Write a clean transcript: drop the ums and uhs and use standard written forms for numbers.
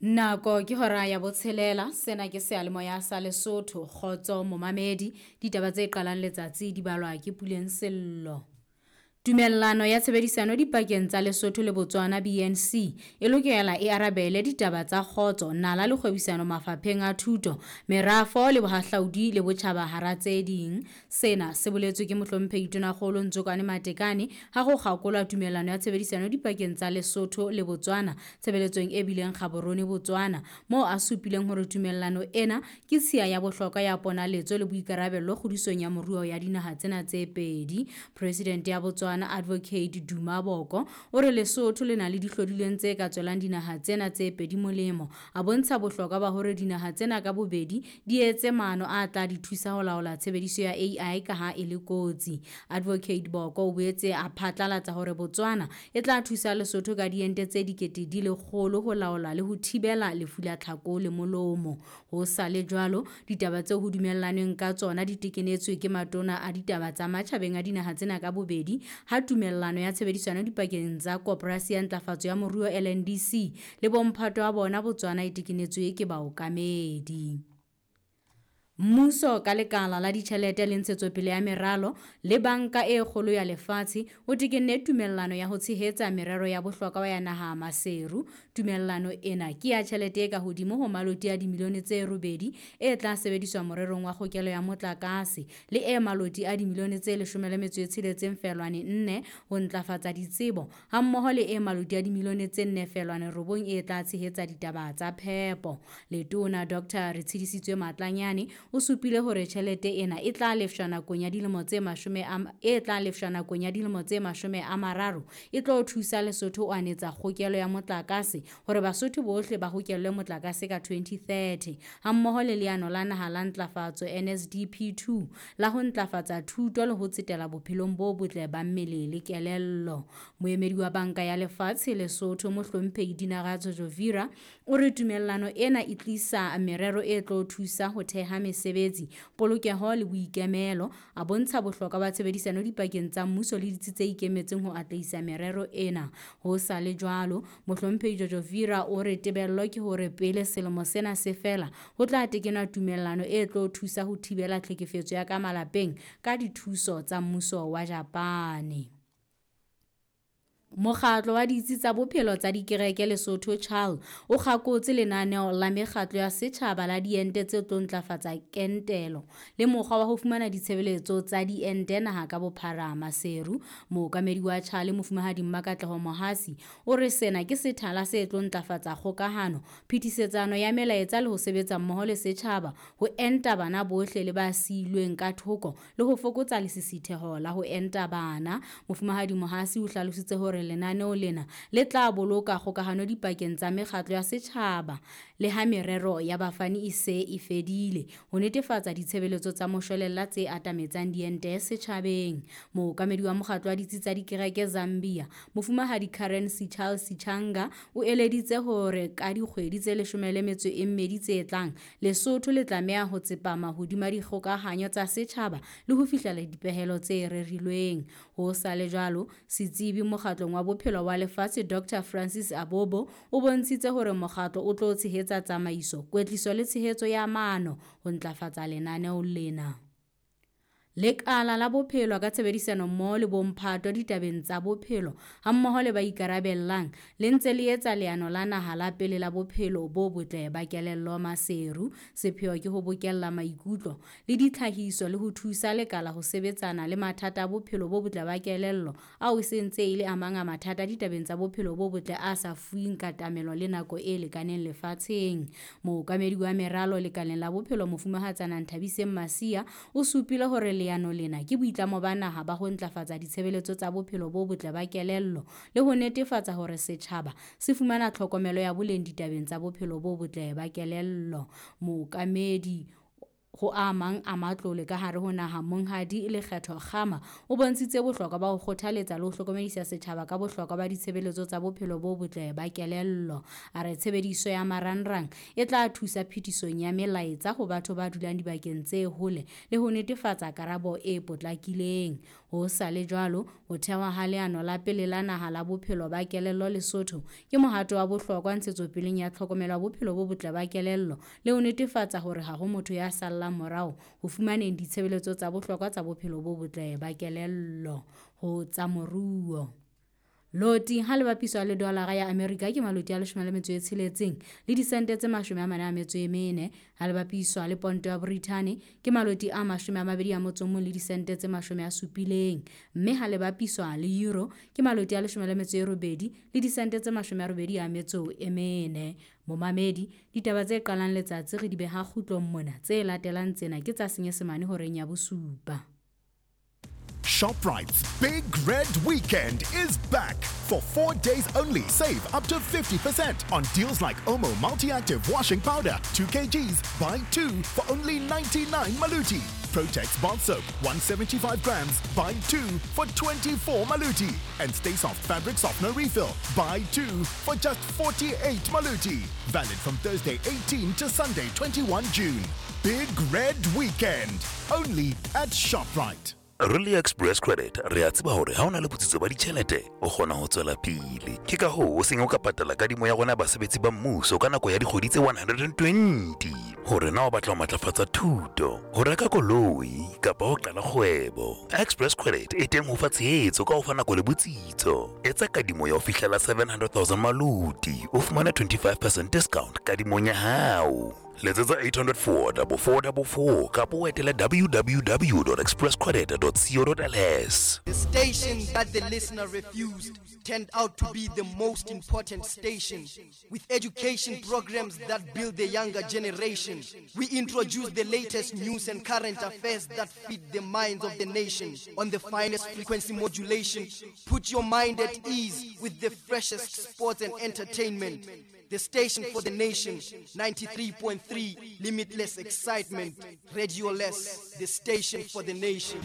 Nako ke hora ya botshelela, sena ke seyalemoya sa Lesotho, kgotso momamedi. Ditaba tse qalang letsatsi di balwa ke Puleng Sello. Tumellano ya tshebedisano dipakeng tsa Lesotho le Botswana BNC e lokela e arabele ditaba tsa kgotso, nala le kgwebisano mafapheng a thuto, merafo le bohahlaudi le botjhaba hara tse ding. Sena se boletswe ke mohlomphehi Tonakgolo Ntsokwane Matekane ha ho kgakolwa tumellano ya tshebedisano dipakeng tsa Lesotho le Botswana tshebeletsong e bileng Gaborone Botswana, moo a supileng hore tumellano ena ke tshiya ya bohlokwa ya ponaletso le boikarabello kgodisong ya moruo ya dinaha tsena tse pedi. Presidente ya Botswana Advocate Duma Boko o re Lesotho le na le dihlodilweng tse ka tswelang dinaha tsena tse pedi molemo. A bontsha bohlokwa ba hore dinaha tsena ka bobedi di etse maano a tla di thusa ho laola tshebediso ya AI ka ha e le kotsi. Advocate Boko o boetse a phatlalatsa hore Botswana e tla thusa Lesotho ka diente tse 100,000 ho laola le ho thibela lefu la tlhako le molomo. Ho sa le jwalo, ditaba tseo ho dumellanweng ka tsona di tekenetswe ke matona a ditaba tsa matjhabeng a dinaha tsena ka bobedi ha tumellano ya tshebedisano dipakeng tsa Koporasi ya Ntlafatso ya Moruo LNDC le bomphato wa bona Botswana e tekenetswe ke baokamedi. Mmuso ka lekala la ditjhelete le ntshetsopele ya meralo le Banka e Kgolo ya Lefatshe o tekenne tumellano ya ho tshehetsa merero ya bohlokwa ya naha Maseru. Tumellano ena ke ya tjhelete e ka hodimo ho maloti a dimilione tse 8 e tla sebediswa morerong wa kgokelo ya motlakase le e maloti a dimilione tse 16.4 ho ntlafatsa ditsebo hammoho le e maloti a dimilione tse 4.9 e tla tshehetsa ditaba tsa phepo. Letona Dr. Retshidisitswe Matlanyane o supile hore tjhelete ena e tla lefshwa nakong ya dilemo tse 30 e tlo thusa Lesotho ho anetsa kgokelo ya motlakase hore Basotho bohle ba hokellwe motlakase ka 2030 hammoho le leano la naha la ntlafatso NSDP2 la ho ntlafatsa thuto le ho tsetela bophelong bo botle ba mmele le kelello. Moemedi wa Banka ya Lefatshe Lesotho Mohlomphehi Dinaradzo Jovira o re tumellano ena e tlisa merero e tlo thusa ho theha mesebetsi, polokeho le boikemelo. A bontsha bohlokwa ba tshebedisano dipakeng tsa mmuso le ditsi tse ikemetseng ho atlehisa merero ena. Ho sa le jwalo, Mohlomphehi Jojovira o re tebello ke hore pele selemo sena se fela ho tla tekenwa tumellano e tlo thusa ho thibela tlhekefetso ya ka malapeng ka dithuso tsa mmuso wa Japane. Mokgatlo wa ditsi tsa bophelo tsa dikereke Lesotho CHAL o kgakotse lenaneo la mekgatlo ya setjhaba la diente tse tlo ntlafatsa kentelo le mokgwa wa ho fumana ditshebeletso tsa diente naha ka bophara Maseru. Mookamedi wa CHAL Mofumahadi Mmakatleho Mohasi o re sena ke sethala se tlo ntlafatsa kgokahano, phetisetsano ya melaetsa le ho sebetsa mmoho le setjhaba ho enta bana bohle le ba siilweng ka thoko le ho fokotsa lesisitheho la ho enta bana. Mofumahadi Mohasi o hlalositse hore lenaneo lena le tla boloka kgokahano dipakeng tsa mekgatlo ya setjhaba le ha merero ya bafani e se e fedile ho netefatsa ditshebeletso tsa moshwelella tse atametsang diente setjhabeng. Mookamedi wa mokgatlo wa ditsi tsa dikereke Zambia Mofumahadi Karen Sichal Sichanga o eleditse hore ka dikgwedi tse 12 tse tlang Lesotho le tlameha ho tsepama hodima dikgokahanyo tsa setjhaba le ho fihlela dipehelo tse rerilweng. Ho sa le jwalo, setsebi mokgatlong wa bophelo wa lefatshe Dr. Francis Abobo o bontshitse hore mokgatlo o tlo tshehetsa tsamaiso, kwetliso le tshehetso ya maano ho ntlafatsa lenaneo lena. Lekala la bophelo ka tshebedisano mmoho le bomphato ditabeng tsa bophelo hammoho le ba ikarabellang le ntse le etsa leano la naha la pele la bophelo bo botle ba kelello Maseru. Sepheo ke ho bokella maikutlo le ditlhahiso le ho thusa lekala ho sebetsana le mathata a bophelo bo botle ba kelello ao e se ntse e le a mang a mathata ditabeng tsa bophelo bo botle a sa fuweng katamelo le nako e lekaneng lefatsheng. Mookamedi wa meralo lekaleng la bophelo Mofumahatsana Nthabiseng Masia o supile hore leano lena ke boitlamo ba naha ba ho ntlafatsa ditshebeletso tsa bophelo bo botle ba kelello le ho netefatsa hore setjhaba se fumana tlhokomelo ya boleng ditabeng tsa bophelo bo botle ba kelello. Mookamedi ho a mang a matlole ka hare ho naha Monghadi Lekgetho Kgama o bontshitse bohlokwa ba ho kgothaletsa le ho hlokomedisa setjhaba ka bohlokwa ba ditshebeletso tsa bophelo bo botle ba kelello. A re tshebediso ya marangrang e tla thusa phetisong ya melaetsa ho batho ba dulang dibakeng tse hole le ho netefatsa karabo e potlakileng. Ho sa le jwalo, ho thehwa ha leano la pele la naha la bophelo ba kelello Lesotho ke mohato wa bohlokwa ntshetsopeleng ya tlhokomelo ya bophelo bo botle ba kelello le ho netefatsa hore ha ho motho ya sallang morao ho fumaneng ditshebeletso tsa bohlokwa tsa bophelo bo botle ba kelello. Ho tsa moruo. Loti ha le bapiswa le dolara ya Amerika ke maloti a 16 le disente tse 44, ha le bapiswa le ponto ya Brithani ke maloti a 21 le disente tse 70, mme ha le bapiswa le euro ke maloti a 18 le disente tse 84. Momamedi, ditaba tse qalang letsatsi re di beha kgutlong mona, tse latelang tsena ke tsa Senyesemane horeng ya bosupa. ShopRite's Big Red Weekend is back. For 4 days only, save up to 50% on deals like Omo Multi-Active Washing Powder, 2 kgs, buy 2 for only 99 Maluti. Protex Bath Soap, 175 grams, buy 2 for 24 Maluti. And Stay Soft Fabric Softener Refill, buy 2 for just 48 Maluti. Valid from Thursday 18 to Sunday 21 June. Big Red Weekend, only at ShopRite. Really Express Credit re a tseba hore ha o na le botsitso ba ditjhelete o kgona ho tswela pele. Ke ka hoo o seng o ka patala kadimo ya rona basebetsi ba mmuso ka nako ya dikgwedi tse 120. Hore na o batla ho matlafatsa thuto, ho reka koloi kapa ho qala kgwebo, Express Credit e teng ho fa tshehetso ka ho fa nako le botsitso. Etsa kadimo ya ho fihlela 700,000 maluti, o fumane 25% discount kadimong ya hao. Letsetsa 804 4444 kapa o etele www.expresscredit.co.ls. The station that the listener refused turned out to be the most important station, with education programs that build the younger generation. We introduce the latest news and current affairs that feed the minds of the nation on the finest frequency modulation. Put your mind at ease with the freshest sports and entertainment. The station for the nation, 93.3, limitless excitement. Radio Less, the station for the nation.